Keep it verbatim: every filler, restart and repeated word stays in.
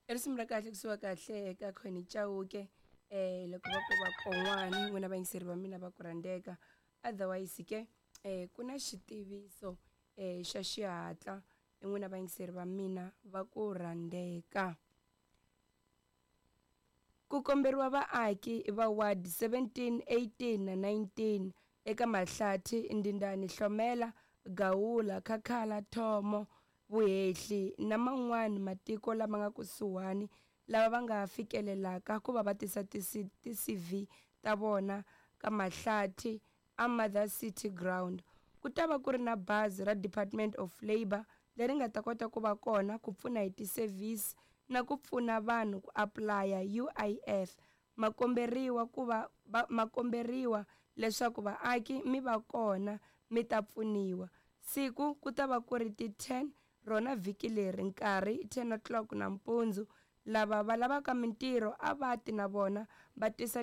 I risimu ra kahle kusuka kahle eka Connie Chauke eh loko va ku va kon'wani n'wina vayingiseri va mina va ku rhandzeka. Otherwise ke eh ku na xitiviso eh xa xihatla n'wina vayingiseri va mina va ku rhandzeka. Ku komberiwa vaaki va ward seventeen, eighteen na nineteen eka Mahlathi, Ndindani, Hlomela, Gawula, Khakhala, Thomo, Vuhehli na man'wana matiko lama nga kusuhani lava va nga fikelelaka ku va va tisa ti-C V ta vona ka Mahlathi a Mother City Ground. Ku ta va ku ri na bazi ra Department of Labour leri nga ta kota ku va kona ku pfuna hi ti-service na ku pfuna vanhu ku apulaya U I F. Makomberiwa ku va makomberiwa leswaku vaaki mi va kona mi ta pfuniwa. Siku ku ta va ku ri ti ten rona vhiki leri, nkarhi ten o'clock nampundzu. Lava va lavaka mintirho a va ti na vona va tisa.